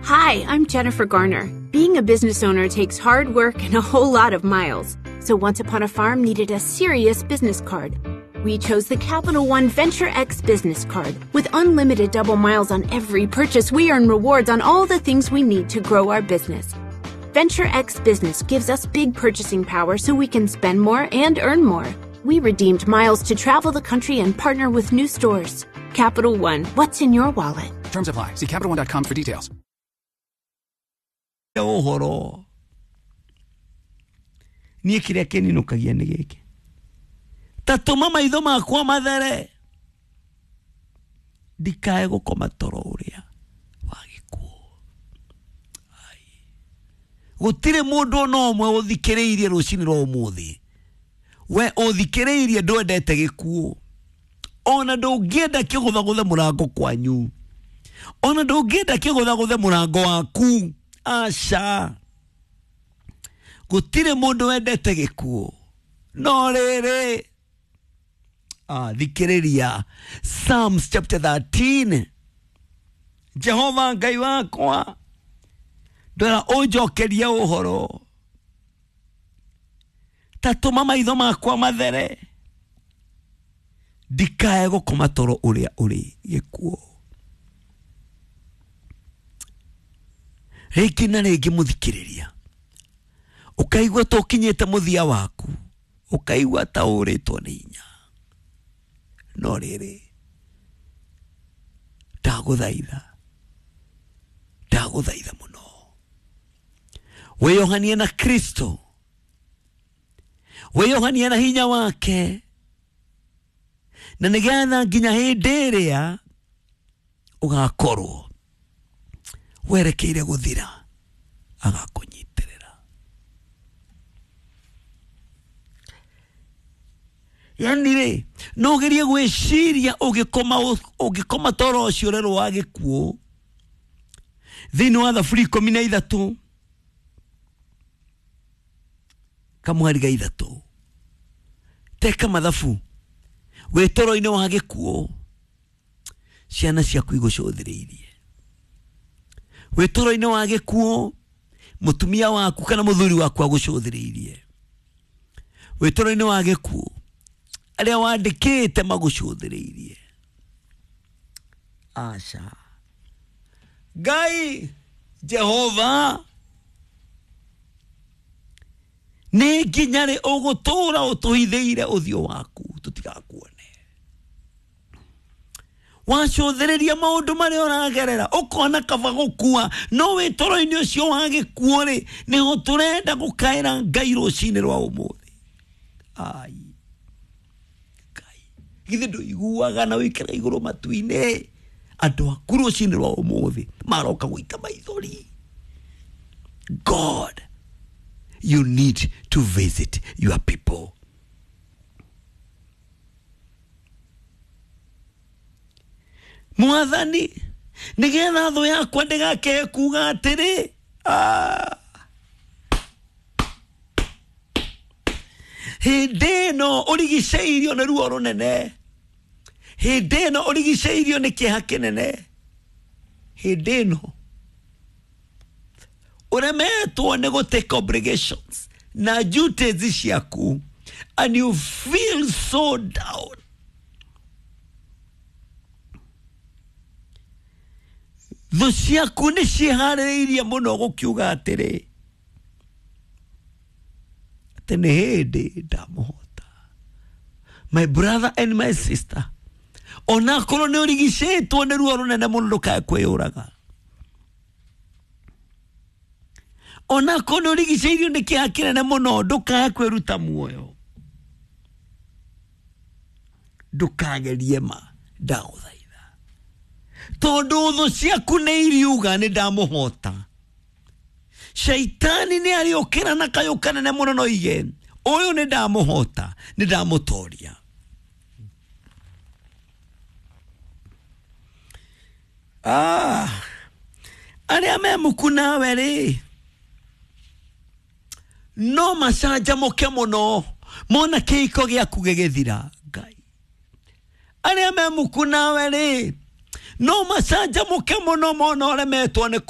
Hi, I'm Jennifer Garner. Being a business owner takes hard work and a whole lot of miles. So Once Upon a Farm needed a serious business card. We chose the Capital One Venture X business card. With unlimited double miles on every purchase, we earn rewards on all the things we need to grow our business. Venture X Business gives us big purchasing power so we can spend more and earn more. We redeemed miles to travel the country and partner with new stores. Capital One, what's in your wallet? Terms apply. See CapitalOne.com for details. Ũhoro niĩ kĩrĩa kĩninũkagia nĩ gĩkĩ, ta tũma maitho makwa mathere ndikae gũkoma toro ũrĩa wa gĩkuũ. Gũtirĩ mũndũ ona ũmwe ũthikĩrĩirie rũcinĩ rwa ũmũthĩ, we ũthikĩrĩirie ndwendete gĩkuũ, ona ndũngĩenda kĩgũthagũthe mũrango kwanyu, ona ndũngĩenda kĩgũthagũthe mũrango waku. Aca, gũtirĩ mũndũ wendete gĩkuũ. No rĩrĩ, thikĩrĩria Psalms chapter 13. Jehova Ngai wakwa, ndwera ũnjokerie ũhoro, ta tũma maitho makwa mathere ndikae gũkoma toro ũrĩa ũrĩ gĩkuũ. Rĩngĩ na rĩngĩ mũthikĩrĩria, ũkaigua ta ũkinyĩte mũthia waku, ũkaigua ta ũrĩtwo nĩ hinya. No rĩrĩ, ndagũthaitha, ndagũthaitha mũno, wĩyohanie na Kristo, wĩyohanie na hinya wake, na nĩgetha nginya hĩndĩ ĩrĩa ũgakorwo werekeire gũthira agakũnyitĩrĩra. Yani rĩ, no ũgerie gwĩciria ũgĩkoma toro ũcio ũrerwo wa gĩkuũ thĩinĩ wa Thaburi 13 kamwari ga 3, teka mathabu wĩ toro-inĩ wa gĩkuũ, ciana ciaku igũcũthĩrĩirie. Wĩ toro-inĩ wa gĩkuũ, mũtumia waku kana mũthuri waku agũcũthĩrĩirie. Wĩ toro-inĩ wa gĩkuũ, arĩa wandĩkĩte magũcũthĩrĩirie. Aca, Ngai Jehova, nĩ nginya rĩ ũgũtũũra ũtũhithĩire ũthiũ waku tũtigakuone? Wacũthĩrĩria maũndũ marĩa ũragerera, ũkona kaba gũkua, no wĩ toro-inĩ ũcio wa gĩkuũ rĩ, nĩho tũrenda gũkaĩra Ngai rũcinĩ rwa ũmũthĩ. Ai Ngai, githĩ ndũiguaga na ũikara igũrũ matu-inĩ? Andũ aku rũcinĩ rwa ũmũthĩ maroka gũita maithori. God, you need to visit your people. Mwathani, nĩgetha thũ yakwa ndĩgakĩhe kuga atĩrĩ, hĩndĩ ĩno ũrigicĩirio nĩ ruo rũnene, hĩndĩ ĩno ũrigicĩirio nĩ kĩeha kĩnene, hĩndĩ ĩno ũremetwo nĩ gũtake obligations na duties ciaku, and you feel so down. Thũ ciaku nĩ ciĩharĩrĩirie mũno gũkiuga atĩrĩ, atĩ nĩ hĩndĩ ndamũhota. My brother and my sister, onakorwo nĩ ũrigicĩtwo nĩ ruo rũnene mũno, ndũkae kwĩyũraga. Onakorwo nĩ ũrigicĩirio nĩ kĩeha kĩnene mũno, ndũkae kwĩruta muoyo. Ndũkagerie ma, ndagũthaitha, tondũ thũ ciaku nĩ iriuga nĩ ndamũhota. Shaitani nĩ arĩũkĩra na kayũ kanene mũno no ige, ũyũ nĩ ndamũhota, nĩ ndamũtoria. Arĩa me muku nawe rĩ, no macanjamũke mũno mona kĩhiko gĩaku gĩgĩthira. Ngai, arĩa me muku nawe rĩ, no macanjamũke mũno mona ũremetwo nĩ